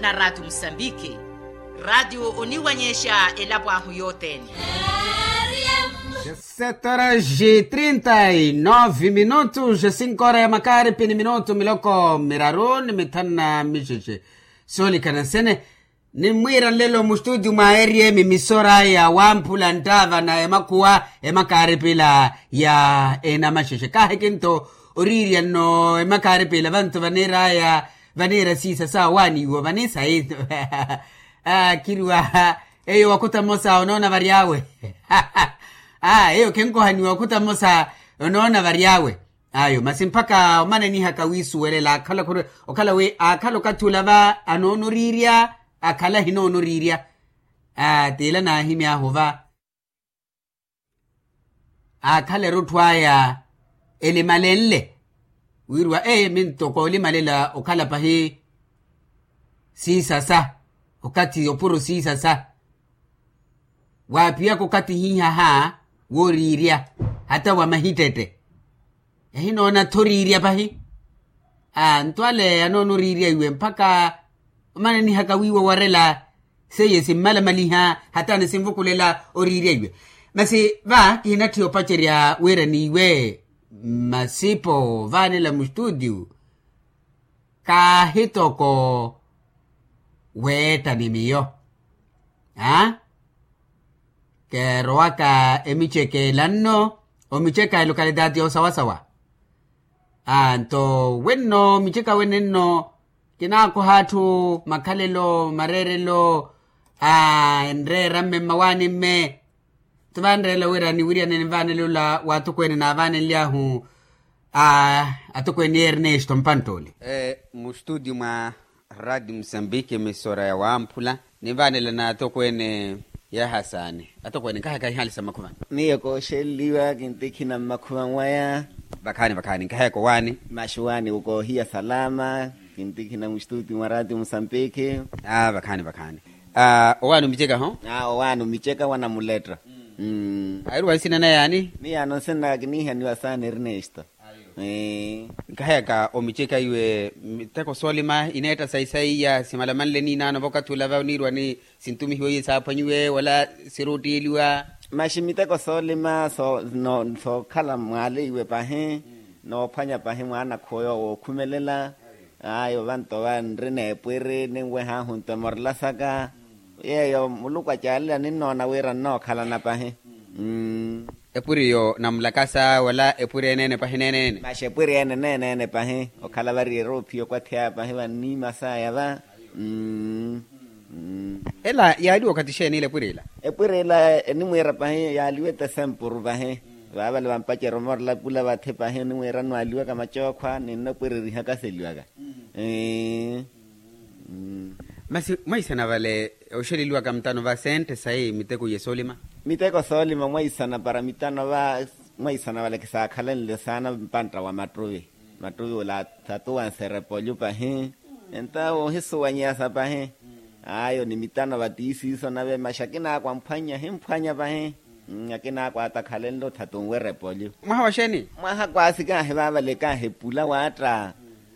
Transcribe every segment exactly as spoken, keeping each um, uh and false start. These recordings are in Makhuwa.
Na ratio musambiki ratio oniwanyexa elapo ahu yothene. Sete horas e trinta e nove minutos e cinco hora ya makaripi ni minutu miloko miraru ni mithanu na mixexe. Soolikana nsene nimmwiira nlelo mustutio mwa rm misora ya wamphula nttaava na emakhuwa emakaaripila ya enamaxexe kaahiki nto oriirya nno emakaaripila vantu vaniiraya vaniira siisa sa owaaniiwa vaniisa eyo. Kiriwa eyo wakhuta mmosa onoona varyawe. Eyo khenkohaniwa wakhuta mmosa onoona varyawe. Ayo masi mpakha omanenihaka wiisuwelela akhala khuri okhala wi akhala okathi ula va anoona oriirya akhala ahinoona oriirya. Tiila naahimy'ahu va akhala erutthu aya elimalenle wiriwa ee minto koolimalela okhala pahi siisasa okathi opuro siisasa. Waaphiyaka okathi hihaha wooriirya hata wa mahittette ehinoona-tho oriirya pahi. Aa nto ale anoona oriirya iwe mpakha omanenihaka wiiwa owarela seiye simmalamaliha hata nisinvukulela oriirya iwe. Masi va kihinatthiya opacerya wira n'iwe masipo vaanela mustutio kaahitoko weetta ni miyo. Aa keerowaka emicekela nno omiceka elokalitaati yoosawasawa. Aa nto wenno miceka wene nno kinaakoha atthu makhalelo mareerelo. Aa enreera mme mmawaani mme nto vanreela wira niwiryane nivaanele ola waatokweene naavaanenly'ahu atokweene ernesto mpantt'ole. Mustutio mwa radio musambiki emisora ya wamphula nivaanela n'atokweene. Yaha saani atokweene nkahayaka ihaali sa mmakhuvani. Miyo kooxeleliwa kintikhina mmakhuvani waya. Vakhaani vakhaani nkahayaka owaani. Maxuwaani koohiya salama kintikhina mustutio mwa radio musambiki. Vakhaani vakhaani. Owaani omiceka ho. Owaani omiceka wanamuletto. Ahiruwa nsina na yaani. Miyaano nsina kiniihaniwa saani ernesto. Nkahayaka omiceka iwe miteko soolima ineetta sayi sayi iya simalamanle niinaano vookathi ula va oniirwa ni sintumihiwa iye saaphwanyiwe wala siruuttiiliwa. Maxi miteko soolima sookhala mwaale iwe pahi noophwanya pahi mwaanakhuwa yoowo wookhumelela. Ayo vanto va nri n'epwiri ninweh'ahu nto emorela saka yeeyo muluku acaalela ninnoona wira nnookhalana pahi. Epwiri eyo namulakasa wala epwiri eneene pahi neeneene. Maxi epwiri ene neeneene pahi okhala vari eroophiya okwathiyaya pahi vanniima saya va. Ela yaaliwa okathi xeeni ila epwiri ila? Epwiri ila enimwiira pahi yaaliwa etesempuru pahi. Vaavale vampacerya omorela pula vathi pahi enimwiira nwaaliwaka macookhwa ninno epwiri erihaka seliwaka. Masi mwaisana vale oxeleliwaka mutano va sente sayi miteko iye soolima? Miteko soolima mwaisana para mitano va mwaisana vale kisaakhalenle saana mpantta wa mattuvi. Mattuvi ula athatuwanse repolyu pahi enta woohisuwanyeyasa pahi. Ayo ni mitano va tiisiiso nave maxi akinaakwa amphwanya ahimphwanya pahi. Akinaakwa atakhalenle othatunwe repolyu. Mwaha wa xeeni? Mwaha kwaasi kaahi vaavale kaahi epula waatta.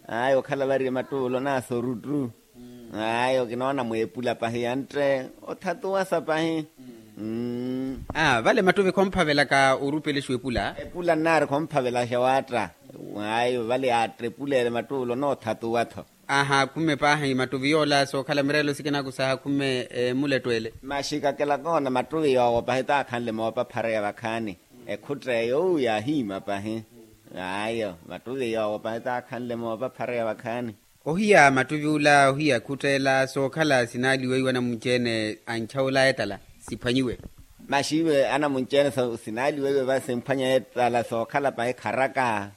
Ayo okhala vari emattuvi ula onaasa oruttu. Ayo kinoona mweepula pahi yantte othatuwasa pahi. Vale mattuvi khomphavelaka orupelexa epula? Epula nnaari khomphavelaxa waatta. Ayo vale yaatta epula ele mattuvi ula onoothatuwa-tho. Aha khume paahi mattuvi yoola sookhala mireelo sikina kusaha khume emuletto ele. Maxi kakela koona mattuvi yoowo pahi taakhanle moopa phareya vakhaani. Ekhutta eyo uu yaahiima pahi. Ayo mattuvi yoowo pahi taakhanle moopa phareya vakhaani. Ohiya mattuvi ula ohiya khutta ela sookhala sinaaliweiwa anamunci-ene ancha ula etala siphwanyiwe. Maxi iwe anamunci-ene sinaaliweiwe va simphwanya etala sookhala pahi kharaka.